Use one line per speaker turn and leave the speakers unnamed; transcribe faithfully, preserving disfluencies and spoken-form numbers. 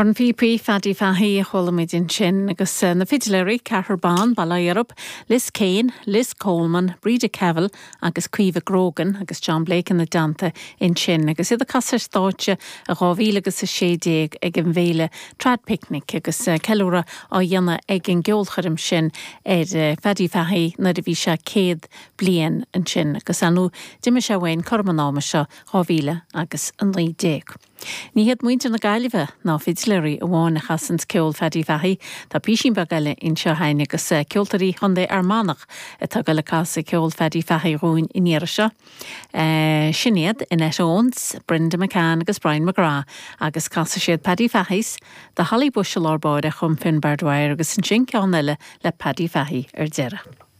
Cornphíopaí Phaddy Fahey a chuala muid ansin agus eh, na fidléirí ceathrar ban bail ó Dhia orthu, Liz Kane, Liz Coleman, Breda Cavill agus Caoimhe Grogan agus John Blake ina dteannta ansin agus iad ag casadh ar stáitse i dhá mhíle agus a sé déag ag an bhféile Trad Picnic agus eh, ceiliúradh á dhéanamh ag an gceolchoirm sin ar eh, Phaddy Fahey nuair a bhí sé céad bliain ansin agus anu d'imigh sé uainn cothrom an ama seo dhá mhíle agus a naoi déag. Ní hiad muintir na Gaillimhe ná fidléirí amháin a chasann ceol Phaddy Fahey, Tá písín beag eile anseo againn agus eh, ceoltóirí Chontae Fhear Manach atá ag casadh ceol Phaddy Fahey dhúinn an iarraidh seo. Uh, sin iad Annette Owens, Brenda McCann agus Brian McGrath agus casfaidh siad Paddy Fahey's, The Holly Bush i lár báire chum Finbar Dwyer agus ansin ceann eile le Paddy Fahey ar deireadh.